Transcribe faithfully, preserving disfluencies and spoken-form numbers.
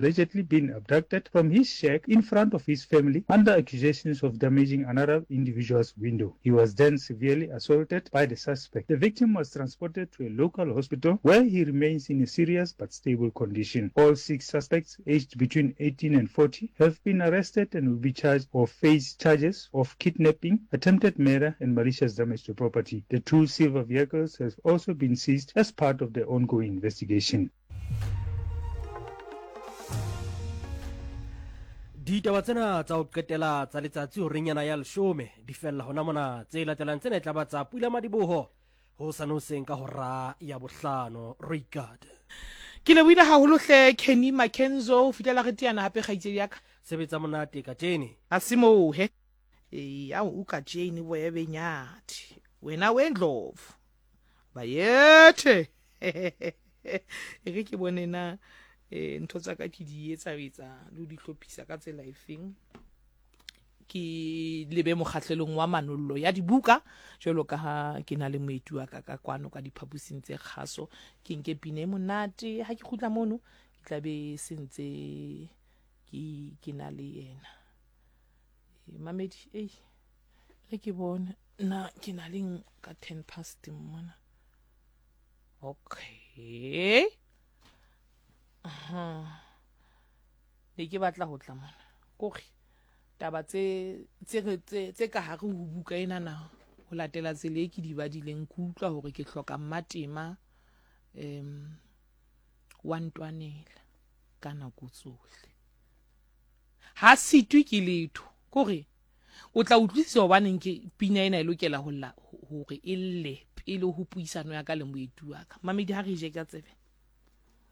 Allegedly been abducted from his shack in front of his family under accusations of damaging another individual's window. He was then severely assaulted by the suspect. The victim was transported to a local hospital where he remains in a serious but stable condition. All six suspects, aged between eighteen and forty, have been arrested and will be charged or face charges of kidnapping, attempted murder, and malicious damage to property. The two silver vehicles have also been seized as part of the ongoing investigation. Ditaba tsena tsa ho qetela tsa letsatsi horeng yana ya leshome di fella hona mona. Tse latelang tsena e tla ba tsa Pula Madiboho hosane hoseng ka hora ya bohlano. Roikad. Ke lebohile haholo hle Kenny Mackenzo, ho fihlela re teana hape kgaitsedi ya ka. Sebetsa monate kajene. Ha se moo he. Eya o ka Jane boya benyathi. Wena wendlovu. Bayethe. E re ke bone na eh ntho tsa ka ke di etsa etsa le ho di hlophisa ka tsela efeng. Ke lebe mokgahlelong wa manollo ya dibuka jwalo ka ha ke na le moeti wa ka ka kwano ka diphaposing tse kgaso. Ke nke pina e monate ha ke kgutla mono ke tla be se ntse ke ke na le yena. E, mamedi ei re ke bone na ke na leng ka ten past mona. Okay. Aha. Ne ke batla ho tla mona. Kore taba tse tse tse tse ka hare ho buka ena na ho latela tsela e ke di badileng ke utlwa hore ke hloka mmatema em wa ntwanela ka nako tsohle. Ha sitwe ke letho. Kore o tla utlwisisa hobaneng ke pina ena e lokela ho lla hore e lle pele ho puisano ya ka le moeti wa ka. Mamedi ha re je ka tsebe.